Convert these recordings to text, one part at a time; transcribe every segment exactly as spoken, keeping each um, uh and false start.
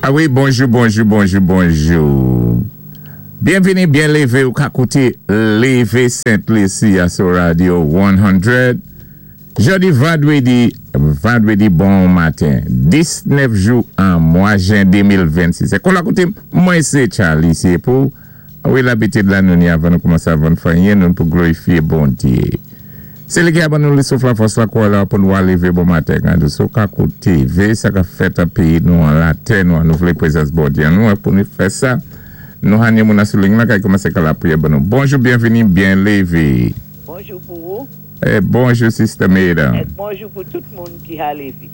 A wi, bonjou, bonjou, bonjou, bonjou. Byenvini, byen lévé ou ka kouté Lévé Sent Lisi a sou Radio san. Jòdi vandwédi, vandwédi bon maten, diznèf jou an mwa jen de mil vennsis. É kon la kouté, mwen sé Charlie, sé pou, a wi, labitid la nou ni avan nou koumansé avan fanyen, nou pou glorifié Bondié. Sé li ki a ban nou li souf la fòs la kwa la pou nou lévé bon maten kan nou sou ka kouté ve sa ka fèt an péyi nou an latè nou an nou vlé pwézans Bondié an nou an pou nou fè sa. Nou hanye moun sou liy la ka koumansé ka lapriyè ban nou. Bonjou, byenvini, byen lévé. Bonjou pou ou. É bonjou, Sister Maida. É bonjou pou tout moun ki a lévé.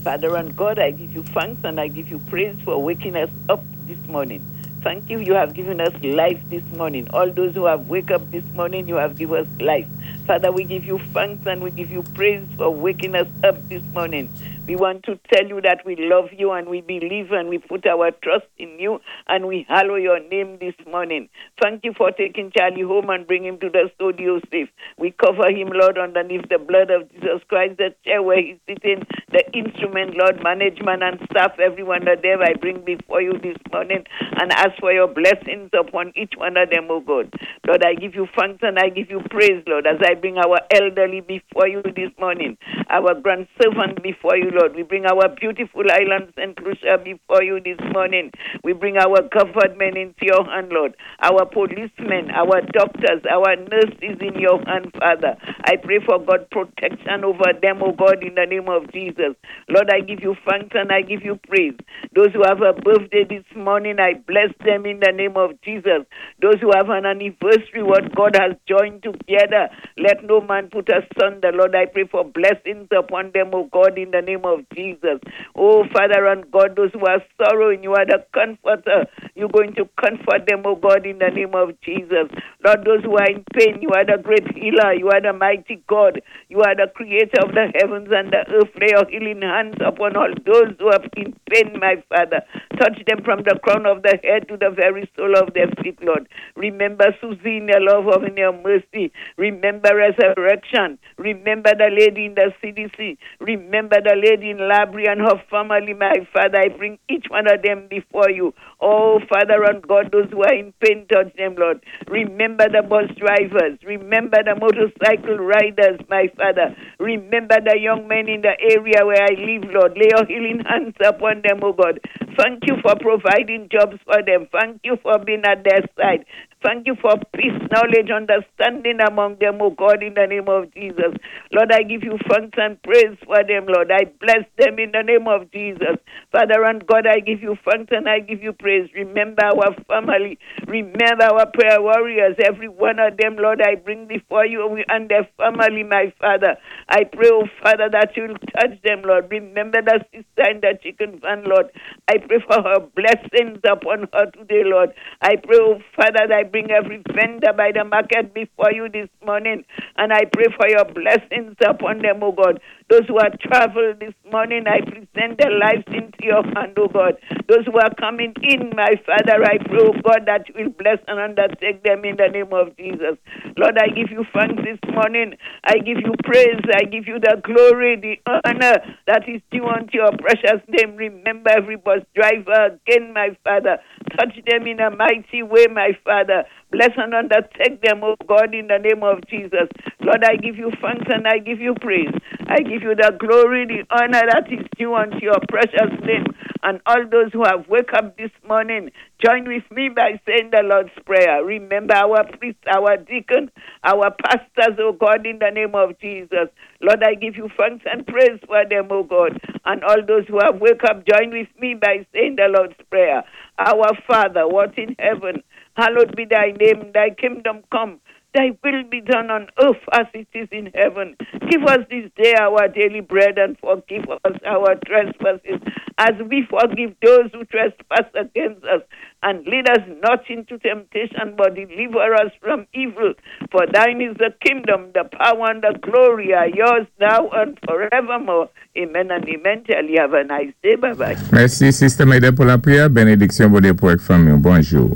Father and God, I give you thanks and I give you praise for waking us up this morning. Thank you, you have given us life this morning. All those who have wake up this morning, you have given us life. Father, we give you thanks and we give you praise for waking us up this morning. We want to tell you that we love you and we believe and we put our trust in you and we hallow your name this morning. Thank you for taking Charlie home and bring him to the studio safe. We cover him, Lord, underneath the blood of Jesus Christ, the chair where he's sitting, the instrument, Lord, management and staff, everyone of them I bring before you this morning and ask for your blessings upon each one of them, oh God. Lord, I give you thanks and I give you praise, Lord, as I bring our elderly before you this morning, our grandservant before you, Lord. We bring our beautiful island, Saint Lucia, before you this morning. We bring our government into your hand, Lord. Our policemen, our doctors, our nurses in your hand, Father. I pray for God protection over them, oh God, in the name of Jesus. Lord, I give you thanks and I give you praise. Those who have a birthday this morning, I bless them in the name of Jesus. Those who have an anniversary, what God has joined together, let no man put asunder. Lord, I pray for blessings upon them, oh God, in the name of Jesus. Oh, Father and God, those who are sorrowing, you are the comforter. You're going to comfort them, oh God, in the name of Jesus. Lord, those who are in pain, you are the great healer. You are the mighty God. You are the creator of the heavens and the earth. Lay your healing hands upon all those who are in pain, my Father. Touch them from the crown of the head to the very sole of their feet, Lord. Remember Susie in your love of in your mercy. Remember resurrection. Remember the lady in the C D C. Remember the lady in Labrie and her family, my Father. I bring each one of them before you. Oh, Father and God, those who are in pain, touch them, Lord. Remember the bus drivers. Remember the motorcycle riders, my Father. Remember the young men in the area where I live, Lord. Lay your healing hands upon them, oh God. Thank you for providing jobs for them. Thank you for being at their side. Thank you for peace, knowledge, understanding among them, oh God, in the name of Jesus. Lord, I give you thanks and praise for them, Lord. I bless them in the name of Jesus. Father and God, I give you thanks and I give you praise. Remember our family. Remember our prayer warriors. Every one of them, Lord, I bring before you and their family, my Father. I pray, oh Father, that you'll touch them, Lord. Remember the sister in the chicken van, Lord. I pray for her blessings upon her today, Lord. I pray, oh Father, that I bring every vendor by the market before you this morning. And I pray for your blessings upon them, oh God. Those who are traveled this morning, I present their lives into your hand, oh God. Those who are coming in, my Father, I pray, oh God, that you will bless and undertake them in the name of Jesus. Lord, I give you thanks this morning. I give you praise. I give you the glory, the honor that is due unto your precious name. Remember every bus driver again, my Father. Touch them in a mighty way, my Father. Bless and undertake them, oh God, in the name of Jesus. Lord, I give you thanks and I give you praise. I give you the glory, the honor that is due unto your precious name. And all those who have wake up this morning, join with me by saying the Lord's Prayer. Remember our priests, our deacon, our pastors, oh God, in the name of Jesus. Lord, I give you thanks and praise for them, oh God. And all those who have wake up, join with me by saying the Lord's Prayer. Our Father, what in heaven, hallowed be thy name, thy kingdom come. Thy will be done on earth as it is in heaven. Give us this day our daily bread and forgive us our trespasses as we forgive those who trespass against us. And lead us not into temptation, but deliver us from evil. For thine is the kingdom, the power, and the glory are yours now and forevermore. Amen and amen. Tell you have a nice day. Bye bye. Mèsi, Sister Maida, pou lapriyè. Bénédiksyon Bondié pou ak fanmi. Bonjou.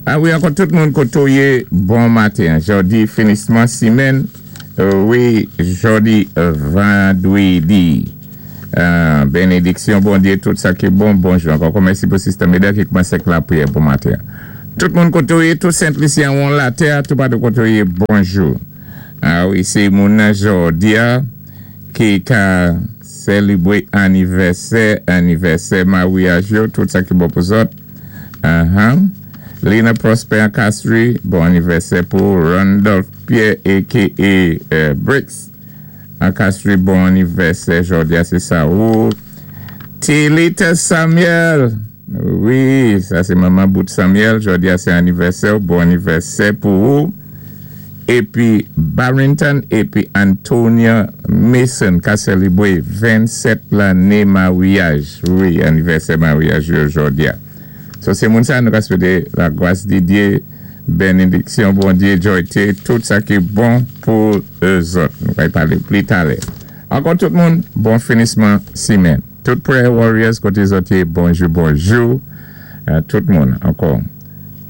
A wi, ankò tout moun koto yé, bon maten. Jòdi, finisman simèn. Euh, wi, jòdi vandwédi. Euh, Bénédiksyon, Bondyé, tout sa ki bon, bonjou. Ankò, mèsi pou Sister Meda ki koumansé ak lapriyè pou maten. Tout moun koté, tout Sent-Lisyen an latè, tout patou koté, bonjou. A wi, sé moun jòdi-a ki ka sélébwé anivèsè, anivèsè maryaj yo, tout sa ki bon pou zòt. Uh-huh. Lina Prosper Castry, bon anivèsè pou Randolph Pierre A K A euh, Bricks. An Castry, bon anivèsè, jòdi-a, sé sa. Ou, Tilita Samuel. Wi, sa sé manman Bout Samuel. Jòdi-a, sé anivèsè. Bon anivèsè pou ou. Épi Barrington épi Antonia Mason ka sélébwé vennsèt lanné maryaj. Wi, anivèsè maryaj jòdi-a. So sé moun sa nou ka swété lagras di Dye, bénédiksyon, Bondyé, jòyté, tout sa ki bon pou zòt. Nou va palé pli talè. Ankò tout moun, bon finisman simenn. Tout prayer warriors koté zòt yé, bonjou, bonjou. Euh, tout moun, ankò.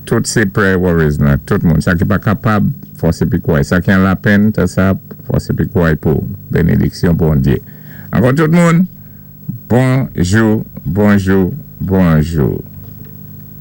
Tout sé prayer warriors la, tout moun. Sa ki pa kapab, fòsé pi kway. Sa ki an lapenn, sa, fòsé pi kway pou bénédiksyon Bondyé. Ankò tout moun, bonjou, bonjou, bonjou.